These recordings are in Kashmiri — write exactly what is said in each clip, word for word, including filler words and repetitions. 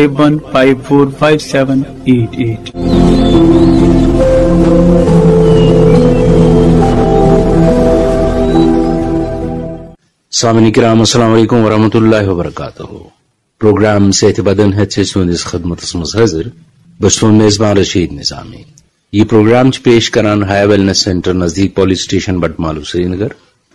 One five four five seven eight eight. سامعین کرام، السلام علیکم ورحمۃ اللہ وبرکاتہ۔ پروگرام صحت بدن ہیتھ چھِ تُہنٛدِس خدمتس منٛز حٲضِر۔ بہٕ چھُس تُہُنٛد میزبان رشید نظامی۔ یہِ پروگرام چھِ پیش کران ہایا ویلنس سینٹر نزدیٖک پولیس سٹیشن بٹمالو سرینگر۔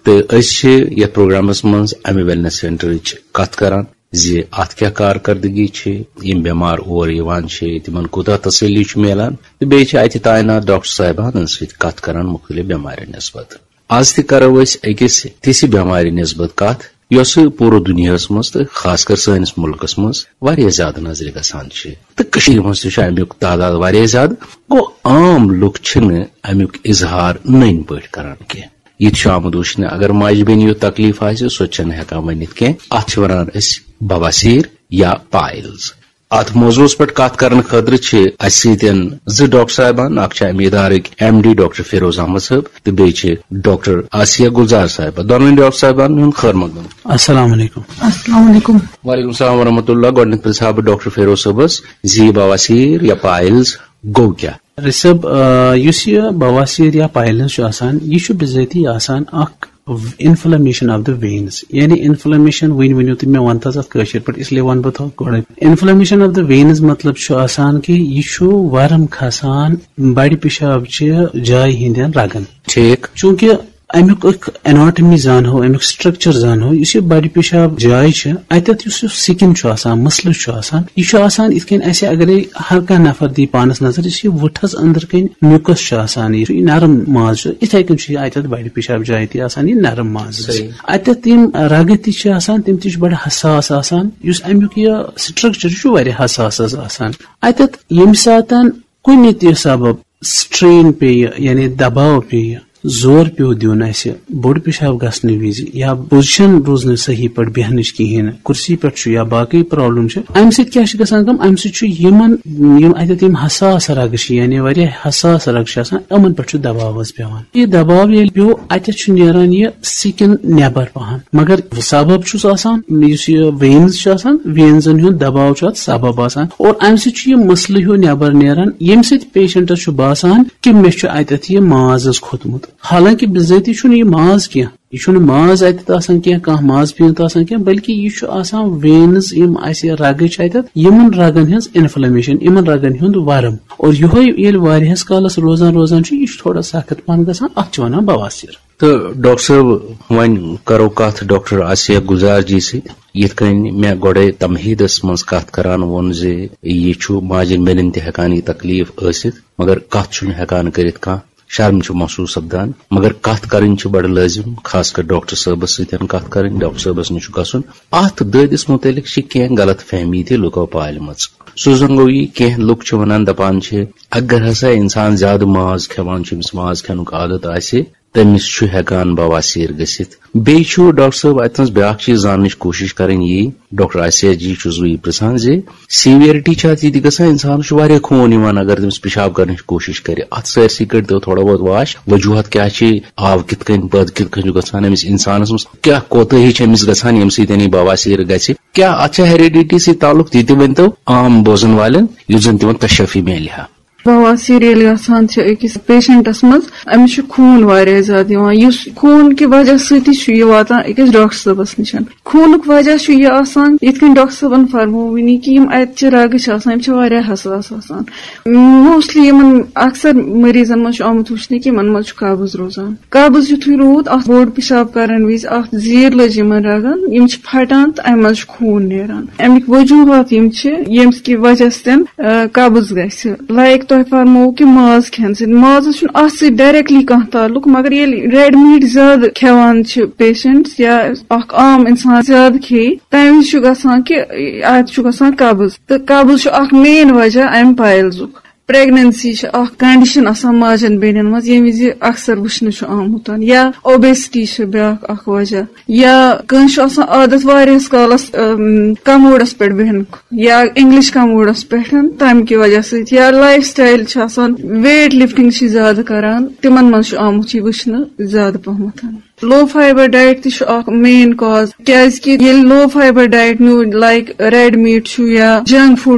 تہٕ أسۍ چھِ یتھ پروگرامس منٛز امہِ ویلنس سینٹرٕچ کتھ کران زِ اتھ کیٛاہ کارکردگی چھِ، یِم بٮ۪مار اور یِوان چھِ، تِمن کوٗتاہ تسلی چھُ میلان، تہٕ بیٚیہِ چھِ اتہِ تعینات ڈاکٹر صاحبانن سۭتۍ کتھ کران مُختٔلِف بٮ۪مارٮ۪ن نسبت۔ از تہِ کرو أسۍ أکِس تِژھِ بٮ۪مارِ نسبت کتھ، یۄسہٕ پوٗرٕ دُنیاہس منٛز تہٕ خاص کر سٲنِس مُلکس منٛز واریاہ زیادٕ نظرِ گژھان چھِ، تہٕ کٔشیٖرِ منٛز تہِ چھُ امیُک تعداد واریاہ زیادٕ۔ گوٚو، عام لُکھ چھِنہٕ امیُک اظہار نٔنۍ پٲٹھۍ کران کینٛہہ۔ یہِ تہِ چھُ آمُت وٕچھنہٕ، اگر ماجہِ بیٚنہِ یُتھ تکلیف آسہِ، سۄ تہِ چھَنہٕ ہٮ۪کان ؤنِتھ کینٛہہ۔ اَتھ چھِ وَنان أسۍ بواسیر یا پائلز۔ اَتھ موضوعس پٮ۪ٹھ کتھ کرنہٕ خٲطرٕ چھِ اَسہِ سۭتۍ زٕ ڈاکٹر صاحبان، اکھ چھِ اَمہِ ادارٕکۍ M D doctor Feroz Ahmad صٲب تہٕ بیٚیہِ چھِ ڈاکٹر آسیہ گلزار صاحبہ۔ دۄنوٕنی ڈاکٹر صاحبانن ہُنٛد خٲر مقدم۔ السلام علیکم۔ السلام علیکم۔ وعلیکم السلام ورحمۃ اللہ۔ گۄڈٕنیتھ پرژھٕ ہا بہٕ ڈاکٹر فیروز صٲبس زِ یہِ بواسیر یا پائلز گوٚو کیٛاہ؟ رِشب، آ، یُس یہِ بواسیر یا پائلز چھُ آسان، یہِ چھُ بِذٲتی آسان اکھ inflammation of the veins، یعنی انفلیمیشن۔ وۄنۍ ؤنِو تُہۍ مےٚ، وَنتہٕ حظ اَتھ کٲشِر پٲٹھۍ، اس لیے وَنہٕ بہٕ تۄہہِ گۄڈَے۔ Inflammation of the veins مطلب چھُ آسان کہِ یہِ چھُ ورم کھسان بڑِ پِشاب چہِ جایہِ ہٕنٛدٮ۪ن رگن۔ ٹھیٖک۔ چوٗنٛکہِ اَمیُک اکھ اناٹمی زانہو، اَمیُک سٹرکچر زانہو، یُس یہِ بڑِ پِشاب جاے چھِ، اَتٮ۪تھ یُس یہِ سِکِن چھُ آسان، مٕسلہٕ چھُ آسان، یہِ چھُ آسان یِتھ کٔنۍ اَسہِ اگرے ہر کانٛہہ نفر دی پانس نظر، یُس یہِ وُٹھس أنٛدرٕ کَنۍ میوٗکس چھُ آسان، یہِ چھُ، یہِ نرم ماز چھُ، یِتھے کٔنۍ چھُ یہِ اَتٮ۪تھ بڑِ پِشاب جایہِ تہِ آسان، یہِ نرم ماز۔ صحیح۔ اَتٮ۪تھ یِم رگہٕ تہِ چھِ آسان، تِم تہِ چھِ بڑٕ حساس آسان۔ یُس اَمیُک یہِ سٹرکچر چھُ، واریاہ حساس حظ آسان۔ اَتٮ۪تھ ییٚمہِ ساتہٕ کُنہِ تہِ سبب سٹرین پیٚیہِ، یعنی دباو پیٚیہِ، زور پیوٚو دیُن اَسہِ بوٚڑ پِشاب گژھنہٕ وِزِ یا پوزیشن روٗز نہٕ صحیح پٲٹھۍ بیٚہنٕچ کِہیٖنۍ، کُرسی پٮ۪ٹھ چھُ یا باقٕے پرابلم چھِ، اَمہِ سۭتۍ کیٛاہ چھِ گژھان کٲم؟ اَمہِ سۭتۍ چھُ یِمن، یِم اَتٮ۪تھ یِم حساس رگہٕ چھِ، یعنی واریاہ حساس رگہٕ چھِ آسان، یِمن پٮ۪ٹھ چھُ دباو حظ پٮ۪وان۔ یہِ دباو ییٚلہِ پیوٚو، اَتٮ۪تھ چھُ نیران یہِ سِکِن نٮ۪بر پہن، مگر سبب چھُس آسان، یُس یہِ وینز چھُ آسان، وینزن ہُنٛد دباو چھُ اتھ سبب آسان، اور امہِ سۭتۍ چھُ یہِ مسلہٕ ہیوٗ نٮ۪بر نیران، ییٚمہِ سۭتۍ پیشنٹس چھُ باسان کہِ مےٚ چھُ اتٮ۪تھ یہِ ماز حظ کھوٚتمُت۔ حالانکہِ بِذٲتی چھُنہٕ یہِ ماز کینٛہہ، یہِ چھُنہٕ ماز اتٮ۪تھ آسان کینٛہہ، کانٛہہ ماز پیٖنت آسان کینٛہہ، بلکہِ یہِ چھُ آسان وینز، یِم اسہِ رگہٕ چھِ اتٮ۪تھ، یِمن رگن ہٕنٛز انفلیمیشن، یِمن رگن ہُنٛد ورم۔ اور یِہوے ییٚلہِ واریاہس کالس روزان روزان چھُ، یہِ چھُ تھوڑا سخت پہن گژھان، اتھ چھِ ونان بواسیر۔ تہٕ ڈاکٹر صٲب، وۄنۍ کرو کتھ ڈاکٹر آسیہ گلزار جی سۭتۍ۔ یِتھ کٔنۍ مےٚ گۄڈے تمہیدس منٛز کتھ کران ووٚن زِ یہِ چھُ ماجن بیٚنٮ۪ن تہِ ہٮ۪کان یہِ تکلیف ٲسِتھ، مگر کتھ چھُنہٕ ہٮ۪کان کٔرِتھ کانٛہہ، شرم چھُ محسوس سپدان، مگر کتھ کرٕنۍ چھِ بڑٕ لٲزم، خاص کر ڈاکٹر صٲبس سۭتۍ کتھ کرٕنۍ، ڈاکٹر صٲبس نِش چھُ گژھُن۔ اتھ دٲدِس متعلق چھِ کینٛہہ غلط فہمی تہِ لُکو پالمٕژ۔ سُہ زن گوٚو یہِ، کینٛہہ لُکھ چھِ ونان، دپان چھِ، اگر ہسا انسان زیادٕ ماز کھٮ۪وان چھُ، أمِس ماز کھٮ۪نُک عادت آسہِ، تٔمِس چھُ ہٮ۪کان بواسیر گٔژھِتھ۔ بیٚیہِ چھُ ڈاکٹر صٲب اتہِ نس بیٛاکھ چیٖز زاننٕچ کوٗشِش کرٕنۍ یی، ڈاکٹر آسیہ جی چھُس بہٕ یہِ پرژھان زِ سیویرٹی چھا اتھ یہِ تہِ گژھان، انسانس چھُ واریاہ خوٗن یِوان اگر تٔمِس پِشاب کرنٕچ کوٗشِش کرِ۔ اتھ سٲرسٕے کٔرۍ تو تھوڑا بہت واش، وجوہات کیٛاہ چھِ، آو کِتھ کٔنۍ، پٲدٕ کِتھ کٔنۍ چھُ گژھان أمِس انسانس منٛز، کیٛاہ کوتٲہی چھِ أمِس گژھان ییٚمہِ سۭتۍ یہِ بواسیر گژھِ، کیٛاہ اتھ چھا ہیریڈیٹی سۭتۍ تعلق، تہِ تہِ ؤنۍ تو عام بوزن والٮ۪ن، یُتھ زن تِمن تشفی میلہِ ہا۔ بواسیر ییٚلہِ گژھان چھِ أکِس پیشنٹس منٛز، أمِس چھُ خوٗن واریاہ زیادٕ یِوان، یُس خوٗن کہِ وجہ سۭتی چھُ یہِ واتان أکِس ڈاکٹر صٲبس نِش۔ خوٗنُک وجہ چھُ یہِ آسان، یِتھ کٔنۍ ڈاکٹر صٲبن فرموو وٕنی کہِ یِم اَتہِ چہِ رگہٕ چھِ آسان، یِم چھِ واریاہ حساس آسان۔ موسٹلی یِمن اکثر مریضن منٛز چھُ آمُت وٕچھنہٕ کہِ یِمن منٛز چھُ قبض روزان۔ قبض یُتھُے روٗد، اَتھ بوٚڑ پِشاب کرن وِزِ، اَتھ زیٖر لٔج یِمن رگن، یِم چھِ پھٹان تہٕ اَمہِ منٛز چھُ خوٗن نیران۔ اَمِکۍ وجوٗہات یِم چھِ، ییٚمہِ کہِ وجہ سۭتۍ، آ، قبض گژھِ۔ لایک تۄہہِ فرموو کہِ ماز کھٮ۪نہٕ سۭتۍ، مازس چھُنہٕ اَتھ سۭتۍ ڈائریکٹلی کانٛہہ تعلق، مگر ییٚلہِ ریڈ میٖٹ زیادٕ کھٮ۪وان چھِ پیشنٹس یا اکھ عام انسان زیادٕ کھیٚیہِ، تَمہِ وِزِ چھُ گژھان کہِ اَتہِ چھُ گژھان قبض، تہٕ قبض چھُ اکھ مین وجہ اَمہِ پائلزُک۔ پریگننسی چھِ اکھ کنڈیشن آسان ماجن بیٚنٮ۪ن منٛز، ییٚمہِ وِزِ اکثر وٕچھنہٕ چھُ آمُت، یا اوبیسٹی چھِ بیٛاکھ اکھ وجہ، یا کٲنٛسہِ چھُ آسان عادت واریاہس کالس، اَم، کموڈس پٮ۪ٹھ بیٚہنُک، یا انگلش کموڈس پٮ۪ٹھ، تمہِ کہِ وجہ سۭتۍ، یا لایف سٹایل چھِ آسان، ویٹ لفٹنگ چھِ زیادٕ کران، تِمن منٛز چھُ آمُت یہِ وٕچھنہٕ زیادٕ پہمتھ۔ لو فائبر ڈائٹ تہِ چھُ اکھ مین کاز، کیازِ کہِ ییٚلہِ لو فائبر ڈائٹ نیوٗ، لائک ریڈ میٖٹ چھُ یا جنک فوڈ